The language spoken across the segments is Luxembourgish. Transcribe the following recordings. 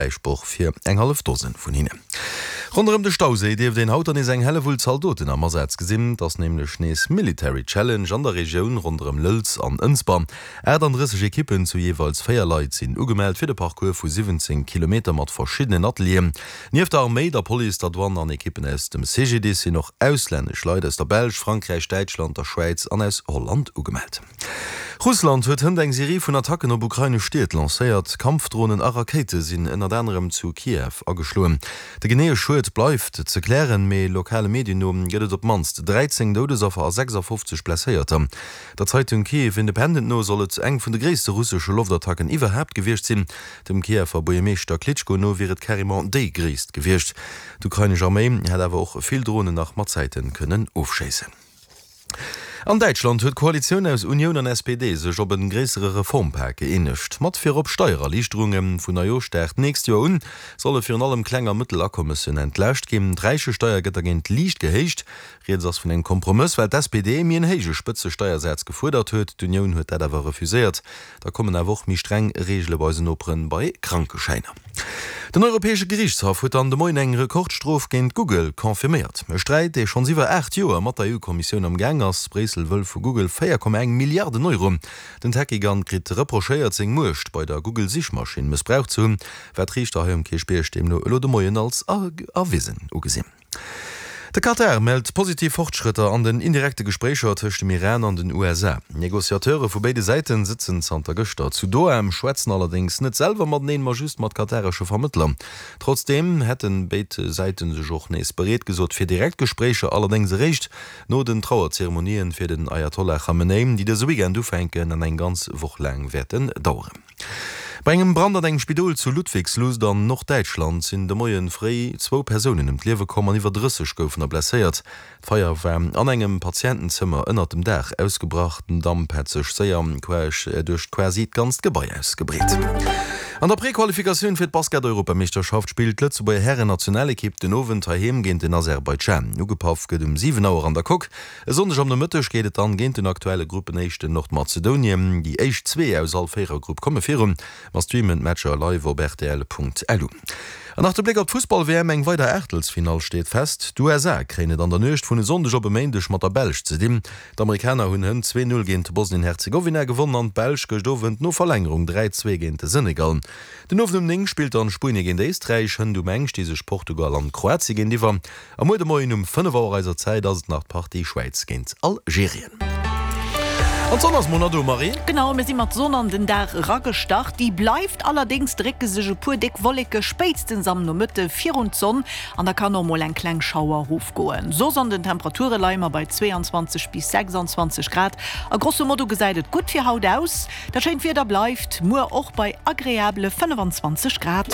Fräisproch fir eng hallef Dosen vun hinnen. Ronderëm de Stauséi dierft een haut dann nees eng Hellewull Zaldoten am Asaz gesinn. Et ass nämlech nees Military Challenge an der Regioun ronderëm Lëlz an Ënsber. 38 Ekippen zu jeeweils 4 Leit sinn ugemellt fir de Parcours vu 17 Kilometer mat verschiddenen Atelieren. Nieft der Arméi, der Police, der Douane an Ekippen aus dem CGDIS sinn och auslännesch Leit aus der Belsch, Frankräich, Däitschland, der Schwäiz an aus Holland ugemellt. Russland huet hënt eng Serie vun Attacken op ukrainesch Stied lancéiert. Kampfdronen a Rakéite sinn ënnert anerem zu Kiew ageschloen. De geneeë Schued bleift ze klären, mee lokale Medien no gëtt et op d'mannst 13 Doudesaffer a 56 Blesséierter. Der Zeitung Kyiv Independent no soll et eng vun de gréisste russesche Loftattacken iwwerhaapt gewiescht sinn. Dem Kiewer Buergermeeschter Klitschko no wier et carrément déi gréisst gewiescht. D'ukrainesch Arméi hätt awer och vill Dronen nach mat Zäite kënnen ofschéissen. An Däitschland huet d'Koalitioun aus Unioun an SPD sech op e gréissere Reformpak gëeenegt. Mat virop Steiererliichterunge. Vun Neijooschdag d'nächst Joer un solle virun allem kleng a mëttel Akommessen entlaascht ginn. D'Räichesteier gëtt dergéint liicht gehéicht. Rieds ass vun engem Kompromëss, well d'SPD méi en héije Spëtzesteiersaz gefuerdert huet. D'Unioun huet dat awer refuséiert. Da kommen awer och méi streng Reegele bei eisen Noperen bei Krankeschäiner. Den Europäesche Geriichtshaff huet dann de Moien eng Rekordstrof géint Google confirméiert. E Sträit, dee schonns iwwer 8 Joer mat der EU-Kommissioun am Gaang ass. Bréissel wëll vu Google 4,1 Milliarden Euro. Den Tech-Gigant kritt reprochéiert, seng Muecht bei der Google-Sichmaschinn mëssbraucht ze hunn, wat d'Riichter hei um Kierchbierg deemno elo de Moien als erwisen ugesinn. De Katar mellt positiv Fortschrëtter an den indirekte Gespréicher tëscht dem Iran an den USA. Negociateure vu béide Säite sëtzen zanter gëschter zu Doha, schwätzen allerdéngs net selwer mateneen, ma just mat kataresche Vermëttler. Trotzdeem hätte béid Säite sech och nees bereet gesot fir direkt Gespréicher, allerdéngs eréischt no den Trauerzeremonien fir den Ayatollah Khamenei, déi dëse Weekend ufänken an eng ganz Woch laang wäerten daueren. Bei engem Brand an engem Spidol zu Ludwigslust an Norddäitschland sinn de Moie fréi zwou Persounen ëm d'Liewe komm an iwwer 30 goufen der blesséiert. D'Feier war an engem Patientenzëmmer ënnert dem Daach ausgebrach. Den Damp hätt sech séier queesch duerch quasi d'ganzt Gebai ausgebreet. An der Prequalifikatioun fir d'Basket-Europameeschterschaft spillt d'Lëtzebuerger Hären-Nationalekipp den Owend heiheem géint den Aserbaidschan. Ugepaff gëtt um 7 Auer an der Coque. E Sonndeg am Nomëtteg geet et dann géint den aktuelle Gruppenéischten Nordmazedonien. Déi éischt zwee aus all Véierergrupp komme virun. Mer streamen d'Matcher live op rtl.lu. An nach de Bléck op d'Fussball-WM, Eng weider Aachtelsfinall steet fest. D'USA kréien et an der Nuecht vun e Sonndeg op e Méindeg mat der Belsch ze dinn. D'Amerikaner hunn hënt 2, 0 géint Bosnien-Herzegowina gewonnen an d'Belsch gëscht Owend no Verlängerung 3, 2 géint de Senegal. Den Owend um 9 spillt dann Spuenie géint Éisträich, hënt um eng sti sech Portugal an Kroatie géintiwwer. A muer de Moien um 5 Auer eiser Zäit ass et nach d'Partie Schwäiz géint Algerien. An d'Sonn ass mol nach do, Marie. Genau, mir si mat Sonn an den Dag eragestart. Déi bleift, allerdéngs drécke sech e puer déck Wolleke spéitstens am Nomëtte virun d'Sonn an da kann och mol eng kleng Schauer erofgoen. Soss an den Temperature leie mer bei 22 bis 26 Grad a grosso modo gesäit et gutt fir haut aus. Dat schéint Wieder bleift muer och bei agreabele 25 Grad.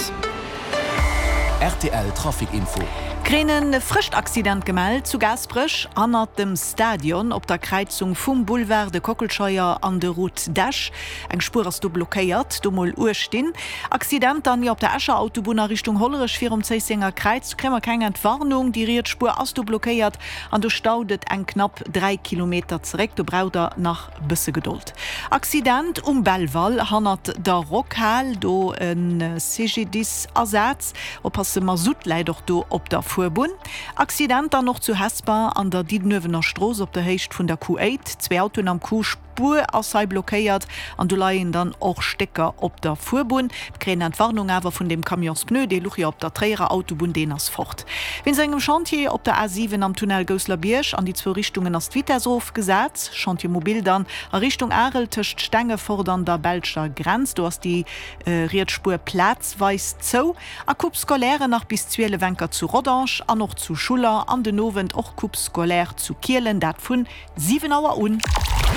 Rtl Trafic Info. Kréien e frëscht Accident gemellt zu Gaasperech hannert dem Stadion op der Kräizung vum Boulevard de Kockelscheier an de Route d'Esch. Eng Spuer ass do blockéiert, do mol uecht dinn. Accident dann jo op der Escher Autobunn a Richtung Hollerech virum Zéissenger Kräiz. Do kréie mer keng Entwarnung, déi riets Spuer ass do blockéiert an do staut et eng knapp 3 Kilometer zeréck. Do braucht der nach Bësse Gedold. Accident um Belval hannert der Rockhal, do e CGDIS Asaz. Oppasse, Masutt läit och do op der Fuerbunn. Accident dann och zu Hesper an der Diddenuewener Strooss op der Héicht vun der Q8. Zwee Autoen am Coup, Spuer ass hei blockéiert an do leien dann och Stécker op der Fuerbunn. Mir kréien Entwarnung awer vun deem Camionspneu, dee luch jo op der Tréierer Autobunn, deen ass fort. Wéinst engem Chantier op der A7 am Tunnel Gousselerbierg an déi zwou Richtungen ass d'Vitess erofgesat. Chantier mobile dann a Richtung Arel tëscht Stengefort an der belscher Grenz. Do ass déi riets Spuer plazweis zou. A Coupe scolaire nach bis 12 enker zu Rodange an och zu Schuller an den Owend och Coupe scolaire zu Kielen, dat vun 7 Auer un.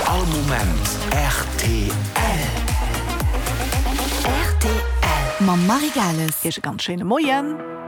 All Moment rtl. Rtl. Mam Marie Gales. Iech e ganz schéine Moien.